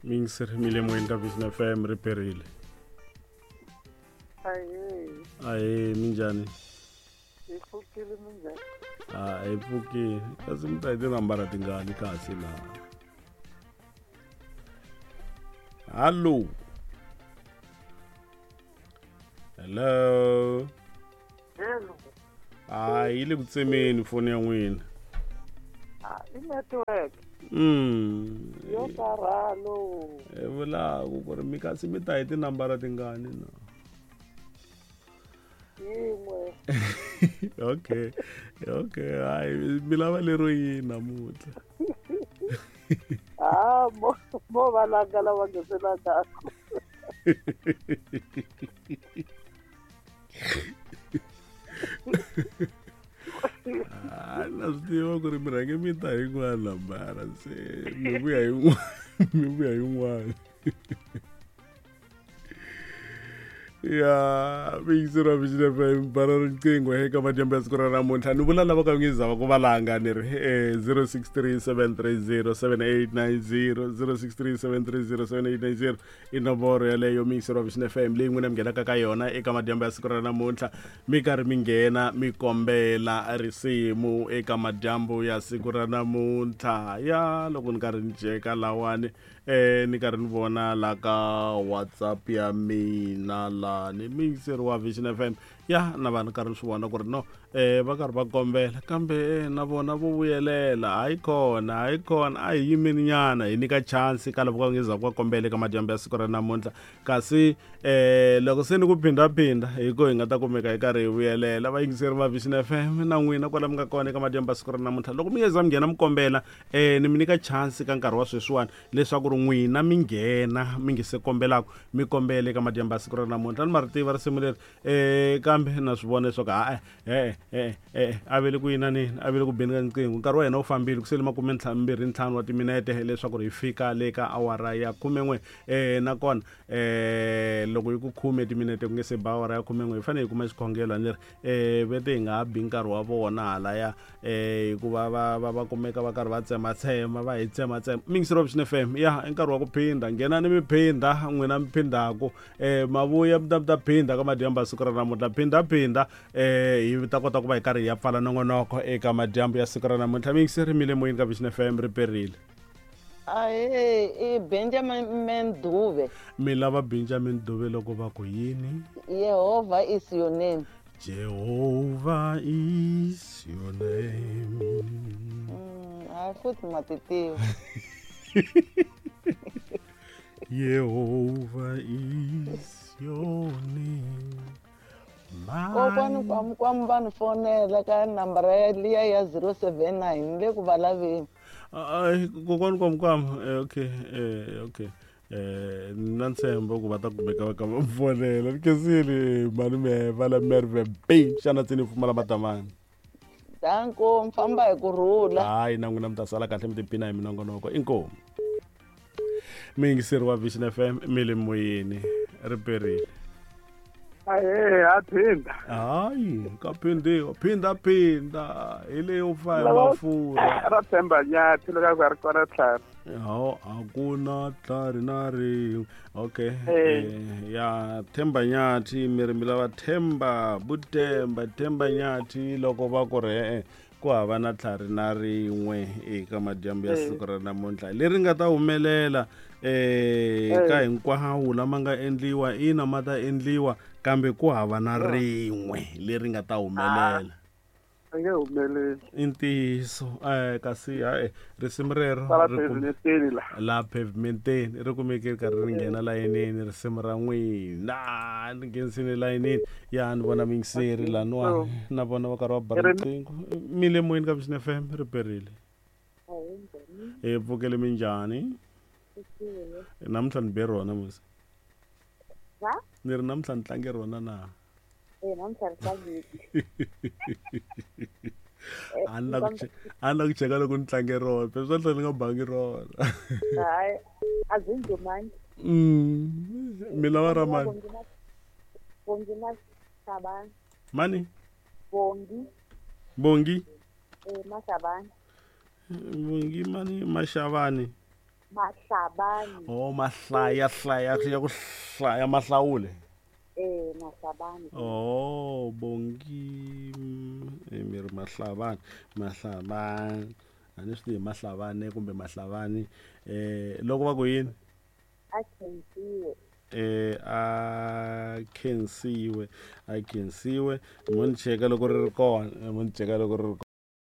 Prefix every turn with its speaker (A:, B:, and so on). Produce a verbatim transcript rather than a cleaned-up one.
A: Miyingiseri mi le moyeni ka Vision F M ri perile.
B: Ahee.
A: Ahee, minjhani?
B: Hi pfukile minjhani?
A: A hi pfukile. Kasi mi ta hi tinambara tingani kasi laha? Hallo. Hello.
B: Hello.
A: A yi le ku tsemeni foni ya n'wina.
B: Ah, i network.
A: Mm.
B: Yo karhalo.
A: E vulaku ku ri mi kasi mi ta hi tinambara tingani na?
B: Yin'we.
A: Okay. Okay, hayi mi lava lero yini namuntlha?
B: Ah, mo mo va langa lava nge se langaku.
A: Ah, na swi tiva ku ri mi rhange mi ta hi yin'wana nambara se mi vuya hi yin'wana mi vuya hi yin'wana. Ya miyingiseri wa Vision F M bara riqingho eka madyambu ya siku ra namuntlha ni vula lava ka nge zava ku valanga ni ri eh, zero six three seven three zero seven eight nine zero zero six three seven three zero seven eight nine zero i nomboro yaleyo miyingiseri wa Vision F M leyi n'wina mi nghenaka ka yona eka madyambu ya siku ra namuntlha mi karhi mi nghena mi kombela risimu eka madyambu ya siku ra namuntlha. Ya loko ni karhi ni cheka lawani eh ni karhi ni vona la ka WhatsApp ya mina la ni miyingiseri wa Vision F M ya na vanhu karhi ni swi vona ku ri no eh va karhi va kombela kambe na vona vo vuyelela hayi kona hayi kona a hi yimeni nyana hi nyika chance ka lava va nge za ku va kombela eka madyambu ya siku ra namuntlha kasi eh loko se ni ku phindaphinda hi ko hi nga ta kumeka hi karhi hi vuyelela. Vayingiseri va Vision F M na n'wina kwala mi nga kona eka madyambu ya siku ra namuntlha loko mi nge za mi nghena mi kombela eh ni mi nyika chance ka nkarhi wa sweswiwani leswaku ri n'wina mi nghena mi nge se kombelaka mi kombela eka madyambu ya siku ra namuntlha. Ni ma ri tiva risimu leri eh kambe na swi vona leswaku ha eh eh eh a vele ku yina nini a vele ku beni ka riqingho nkarhi wa hina wu fambile ku sele makume mbirhi ntlhanu wa timinete leswaku ri hi fika le ka awara ya khumen'we eh nakona eh loko yi ku khume timinete ku nge se ba awara ya khumen'we hi fanele hi kuma xikhongelo a ni ri eh vete hi nga ha bi nkarhi wa vona halaya eh hikuva va va va kumeka va karhi va tsematsema va hi tsematsema. Miyingiseri wa Vision F M ya i nkarhi wa ku phinda nghenani mi phinda n'wina mi phindhaku eh mavuya mi ta mi ta phinda ka madyambu ya siku ra namuntlha phinda phinda eh hi ta kota ku va hi karhi hi ya pfala nongonoko eka madyambu ya siku ra namuntlha. Miyingiseri mi le moyeni ka Vision F M ri perile.
B: Ahee, i Benjamin Dube.
A: Mi lava Benjamin Dube loko va ku yini?
B: Jehovah is your name.
A: Jehovah is your name.
B: Mm, a futhi ma ti tiva.
A: Jehovah is your name.
B: Kokwani kwami kwami va ni fonela ka nambara ya liya ya zero seven nine le ku va laveni.
A: Ai kokwani kwami kwami okay eh okay eh na ntshembo ku va ta kumeka va ka va fonela ni khensile malume va la Merwe B xana tsini pfumala matamani.
B: Danko mi famba hi ku rhula.
A: Hayi na n'wina mi ta sala kahle mi tiphina hi minongonoko inkomu. Miyingiseri wa Vision F M mi le moyeni ri perile.
C: Ahee, ha phinda.
A: Hayi, ka phindiwa, phinda phinda hi leyo fa hi mafurha.
C: Ra Themba Nyathi loko a ri kona tlhari.
A: Hawu a ku na tlhari na rin'we. Okay. Eh, ya Themba Nyathi mi ri mi lava Themba, Butemba, Themba Nyathi loko va ku ri e-e ku hava na tlhari na rin'we eka madyambu ya siku ra namuntlha leri nga ta humelela eh ka hinkwawo lama nga endliwa ina ma ta endliwa kambe ku hava na rin'we leri nga ta humelela.
C: A nge humeleli.
A: I ntiyiso eh kasi hayi risimu rero la pavementeni ri kumeke ri karhi ri nghena layinini risimu ra n'wina ni nghenisile layinini ya ni vona miyingiseri laniwani na vona va karhi va ba riqingho mi le moyeni ka Vision F M ri perile. Hi pfukele minjhani? Namuntlha ni be rona musi. Ni ri namuntlha ni tlange rona na?
D: Eh, namuntlha ni tlangile.
A: A ni la ku a ni la ku cheka loko ni tlange rona phela swa tlhela ni nga bangi rona.
D: Hayi, a byi ndzumangi.
A: Mm, mi lava ra mani?
D: Bongi Mashabane.
A: Mani?
D: Bongi.
A: Bongi?
D: Eh, Mashabane.
A: Bongi mani Mashabane.
D: Mahlabane.
A: Oh, mahlaya hlaya ya ku hlaya mahlawule.
D: Eh, Mahlabane.
A: Oh, Bongi mm, eh, mi ri Mahlabane, Mahlabane. A ni swi tivi Mahlabane kumbe Mahlabane. Eh, loko va ku yini?
D: A khensiwe.
A: Eh, a khensiwe, a khensiwe. Mo ni cheka loko ri ri kona, mo ni cheka loko ri ri